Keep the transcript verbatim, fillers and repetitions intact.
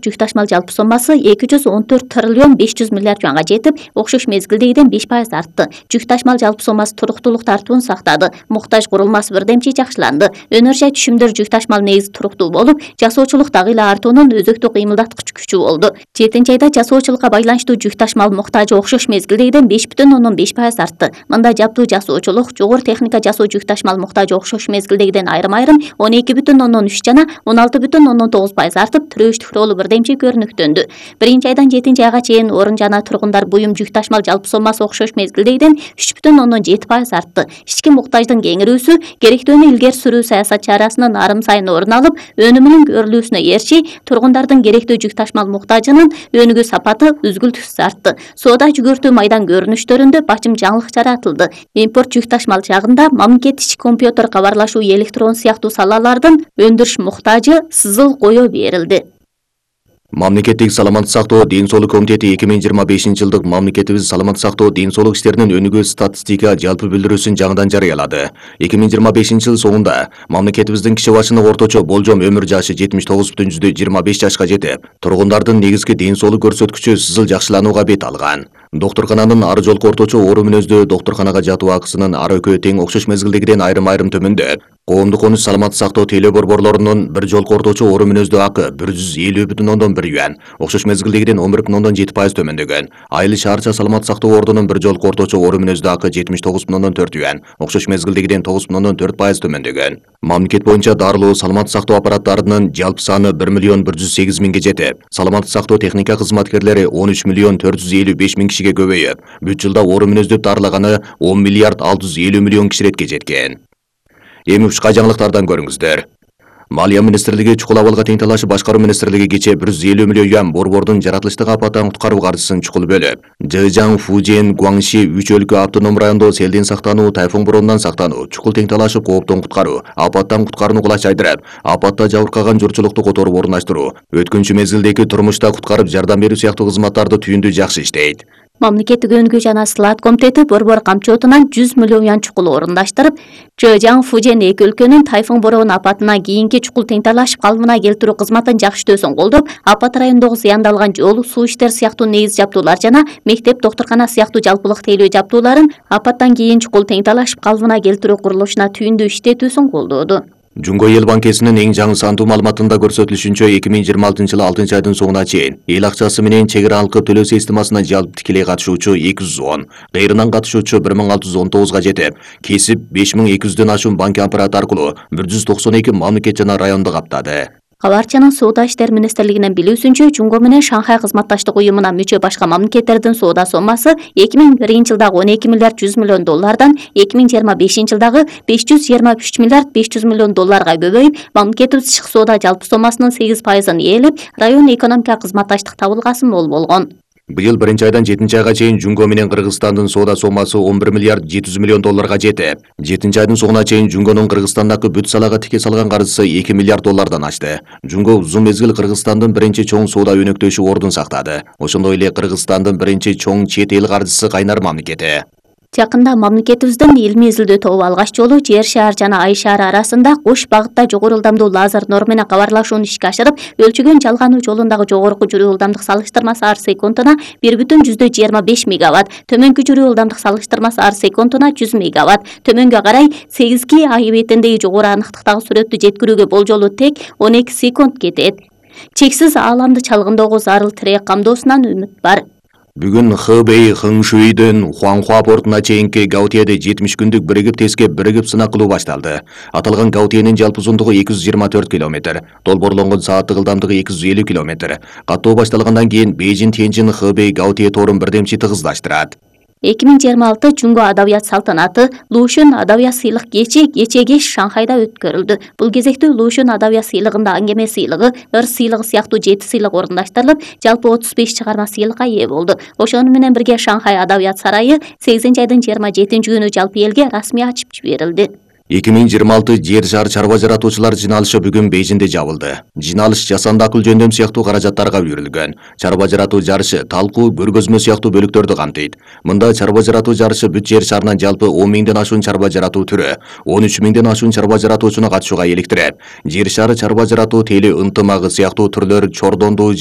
жүк ташмал жалпы сомасы эки жүз он төрт триллион беш жүз миллиард жуанга жетип, окшош мезгилдегиден беш пайыз артты. Жүк ташмал жалпы сомасы туруктуулук тартуун сактады. Муктаж курулмасы бирдемчи жакшыланды. Өнөр жай түшүмдөр жүк ташмал негизи туруктуу болуп, жасоочулук дагы эле артуунун өзөктүк кыймылдаткыч күчү болду. жетинчи айда жасоочулукка байланыштуу жүк ташмал муктажы окшош мезгилдегиден беш бүтүн ондон беш пайыз артты. Мында жаптуу жасоочулук, жогору техника жасоо жүк ташмал муктажы окшош мезгилдегиден айрым-айрым он эки бүтүн ондон үч жана он алты бүтүн ондон тогуз пайыз артып, төрөштүк ролу бирдемчи көрүнүктөндү. Биринчи айдан жетинчи айга чейин орун жана тургундар буюм жүк ташмал жалпы сомасы окшош мезгилдегиден үч бүтүн ондон жети пайыз артты. Ички муктаждын кеңирүүсү керектүүнү илгери сүрүү саясат чарасынын арым сайын орун алып, өнүмүнүн көрүлүүсүнө ээрчи тургундардын керектүү жүк ташмал муктажынын өнүгүү сапаты үзгүлтүксүз артты. Соода жүгөртүү майдан көрүнүштөрүндө бачым жаңылык жаратылды. Импорт жүк ташмал жагында мамлекет ички компьютер кабарлашуу, электрон сыяктуу салалардын өндүрүш муктажы сызыл кое берилди. Мамлекеттик саламаттык сактоо ден соолук комитети эки миң жыйырма бешинчи жылдык мамлекетибиз саламаттык сактоо ден соолук иштеринин өнүгүү статистика жалпы билдирүүсүн жаңыдан жарыялады. эки миң жыйырма бешинчи жыл соңунда мамлекетибиздин киши башына орточо болжом өмүр жашы жетимиш тогуз бүтүн жүздө жыйырма беш жашка жетип, тургундардын негизги ден соолук көрсөткүчү сызыл жакшыланууга бет алган. Доктуркананын ары жолку орточо оору мүнөздүү доктурканага жатуу акысынын ары экөө тең окшош мезгилдегиден айрым-айрым төмөндөп, коомдук конуч саламаттык сактоо тейлөө борборлорунун бир жолку орточо оору мүнөздүү акы бир жүз элүү бүтүн ондон бир юан, окшош мезгилдегиден он бир бүтүн ондон жети пайыз төмөндөгөн. Айыл шаарча саламаттык сактоо ордунун бир жолку орточо оору мүнөздүү акы жетимиш тогуз бүтүн ондон төрт юан, окшош мезгилдегиден тогуз бүтүн ондон төрт пайыз төмөндөгөн. Мамлекет боюнча дарылуу саламаттык сактоо аппараттарынын жалпы саны бир миллион бир жүз сегиз миңге жетип, саламаттык сактоо техника кызматкерлери он үч миллион төрт жүз элүү беш миң кишиге көбөйүп, бүт жылда оору мүнөздөп дарылаганы он миллиард алты жүз элүү миллион киширетке жеткен. Эми башка жаңылыктардан көрүңүздөр. Малия министрлиги чукул абалга тең талашып башкаруу министрлиги кечээ бир жүз элүү миллион юан борбордун жаратылыштык апаттан куткаруу каржысын чукул бөлүп, Жэжаң, Фужен, Гуаңши үч өлкө автоном райондо селден сактануу, тайфун боронунан сактануу, чукул тең талашып кооптон куткаруу, апаттан куткарууну кулачайдырып, апатта жабыркаган журтчулукту которуп орундаштыруу, өткүнчү мезгилдеги турмушта куткарып жардам берүү сыяктуу кызматтарды түйүндүү жакшы иштейт. Мамлекеттик өнүгүү жана сылаат комитети борбор камчоотунан жүз миллион юан чукул орундаштырып, Жэжаң, Фужен эки өлкөнүн тайфун борон апатынан кийинки чукул тең талашып калыбына келтирүү кызматын жакшытөөсүн колдоп, апат райондогу зыяндалган жол, суу иштер сыяктуу негиз жабдуулар жана мектеп, доктуркана сыяктуу жалпылык тейлөө жабдууларын апаттан кийин чукул тең талашып калыбына келтирүү курулушуна түйүндүү иштетүүсүн колдоду. Жумго эл банкесинин эң жаңы сандуу маалыматында көрсөтүлүшүнчө эки миң жыйырма алтынчы жылы алтынчы айдын соңуна чейин эл акчасы менен чек ара алкып төлөө системасына жалпы тикелей катышуучу эки жүз он, кайрынан катышуучу бир миң алты жүз он тогузга жетип, кесип беш миң эки жүздөн ашуун банк аппараты аркылуу бир жүз токсон эки мамлекет жана районду каптады. Кабарчанын соода иштер министрлигинин билүүсүнчө, Жумго менен Шанхай кызматташтык уюмуна мүчө башка мамлекеттердин соода сомасы эки миң биринчи жылдагы он эки миллиард жүз миллион доллардан эки миң жыйырма бешинчи жылдагы беш жүз жыйырма үч миллиард беш жүз миллион долларга көбөйүп, мамлекетибиз тышкы соода жалпы сомасынын сегиз пайызын ээлеп, район экономика кызматташтык табылгасы мол болгон. Быйыл биринчи айдан жетинчи айга чейин Жумго менен Кыргызстандын соода сомасы он бир миллиард жети жүз миллион долларга жетип, жетинчи айдын соңуна чейин Жумгонун Кыргызстандагы бүт салага тике салган каржысы эки миллиард доллардан ашты. Жумго узун мезгил Кыргызстандын биринчи чоң соода өнөктөшү ордун сактады. Ошондой эле Кыргызстандын биринчи чоң чет эл каржысы кайнар мамлекети. Жакында мамлекетибиздин илмий изилдөө тобу алгач жолу Жер шаар жана Ай шаары арасында кош багытта жогору ылдамдуу лазер нор менен кабарлашууну ишке ашырып, өлчөгөн жалгануу жолундагы жогорку жүрүү ылдамдык салыштырмасы ар секундуна бир бүтүн жүздө жыйырма беш мегаватт, төмөнкү жүрүү ылдамдык салыштырмасы ар секундуна жүз мегаватт, төмөнгө карай сегизги Ай бетиндеги жогору аныктыктагы сүрөттү жеткирүүгө болжолу тек он эки секунд кетет. Чексиз ааламды чалгындоого зарыл тирек камдоосунан үмүт бар. Бүгүн Хэбэй Хыңшуйдун Хуанхуа портуна чейинки Гаутиеде жетимиш күндүк биригип тескеп биригип сынак кылуу башталды. Аталган Гаутиенин жалпы узундугу эки жүз жыйырма төрт километр, долбоорлонгон сааттык ылдамдыгы эки жүз элүү километр. Каттоо башталгандан кийин Бейжин Тяньжин Хэбэй Гаутие тоорун бирдемчи тыгыздаштырат. эки миң жыйырма алты Жумго адабият салтанаты Лушун адабият сыйлык кечи кече кеш Шанхайда өткөрүлдү. Бул кезекте Лушун адабият сыйлыгында аңгеме сыйлыгы, ыр сыйлыгы сыяктуу жети сыйлык орундаштырылып, жалпы отуз беш чыгарма сыйлыкка ээ болду. Ошону менен бирге Шанхай адабият сарайы сегизинчи айдын жыйырма жетинчи күнү жалпы элге расмий ачып жиберилди. эки миң жыйырма алты Жер шаар чарба жаратуучулар жыйналышы бүгүн Бейжинде жабылды. Жыйналыш жасанды акыл жөндөм сыяктуу каражаттарга үйрүлгөн. Чарба жаратуу жарышы талкуу, көргөзмө сыяктуу бөлүктөрдү камтыйт. Мында чарба жаратуу жарышы бүт жер шарынан жалпы он миңден ашуун чарба жаратуу түрү, он үч миңден ашуун чарба жаратуучуну катышууга иликтирет. Жер шары чарба жаратуу тейлөө ынтымагы сыяктуу түрлөр чордондуу